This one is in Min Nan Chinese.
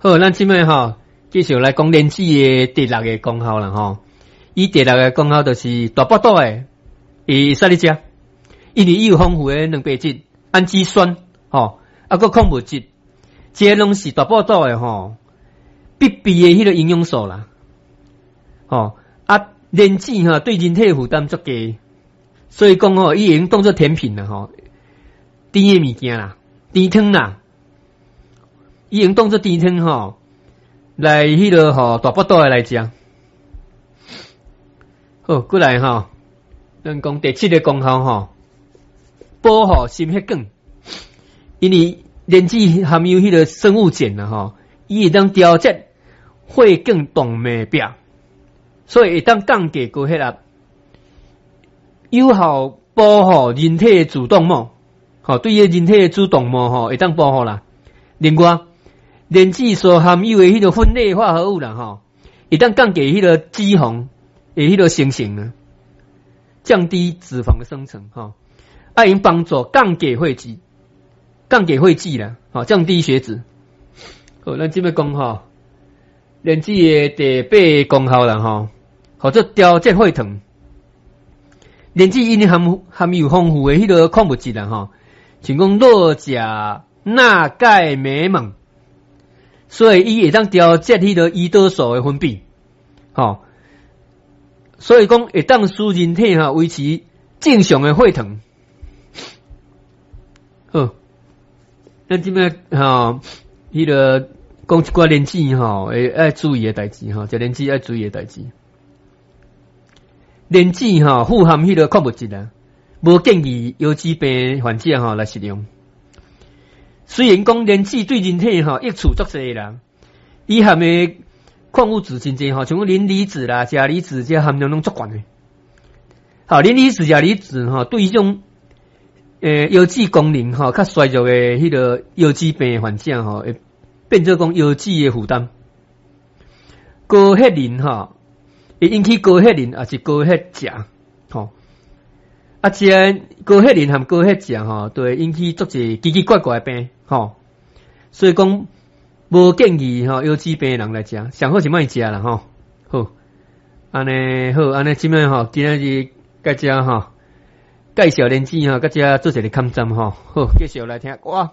好，咱這擺吼繼續來講蓮子的第六个功效啦吼。伊第六个功效就是大腹肚的，會使咧食，因為伊有豐富的蛋白質、氨基酸，吼，啊閣礦物質，這攏是大腹肚的吼必備的彼个營養素啦。吼，啊，蓮子吼對人體負擔足低，所以講吼，伊會用當做甜品啦吼，甜的物件啦，甜湯啦，伊用當做甜湯吼，來彼个吼大腹肚的來食。好，過來吼，咱講第七个功效吼，保護心血管，因為蓮子含有彼個生物鹼啦吼，伊會當調節血管動脈壁，所以會當降低高血壓，有效保護人體的主動脈，吼，對於人體的主動脈吼會當保護啦。另外，蓮子所含有的彼個酚類化合物啦吼，會當降低彼個脂肪的彼個生成啊，降低脂肪的生成吼，啊，會幫助降低血脂，降低血脂啦，吼，降低血脂。好，咱這擺講吼，蓮子的第八個功效啦吼，號做調節血糖。蓮子因為含有豐富的彼個礦物質啦吼，像講鉻、鉀、鈉、鈣、鎂、錳，所以伊會當調節彼個胰島素的分泌，吼，所以講會當使人體吼維持正常的血糖。好，咱這擺吼，彼個講一寡蓮子吼，會愛注意的代誌吼，食蓮子愛注意的代誌。蓮子吼富含彼個礦物質啊，無建議腰子病患者吼來食用。雖然講蓮子對人體吼益處足濟啦，伊含的礦物質真濟吼，像講磷離子啦、鉀離子，這含量攏足懸的。好，磷離子、鉀離子吼，對彼種腰子功能吼較衰弱的彼個腰子病患者吼，會變做講腰子的負擔。高血磷吼，會引起高血磷，抑是高血鉀吼。啊，這高血磷和高血鉀吼，都會引起足濟奇奇怪怪的病吼。所以講，無建議吼腰子病的人來食，上好是莫食啦吼。好，按呢好，按呢這擺吼，今仔日佮遮吼介紹蓮子吼，佮遮做一个坎站吼。好，繼續來聽歌。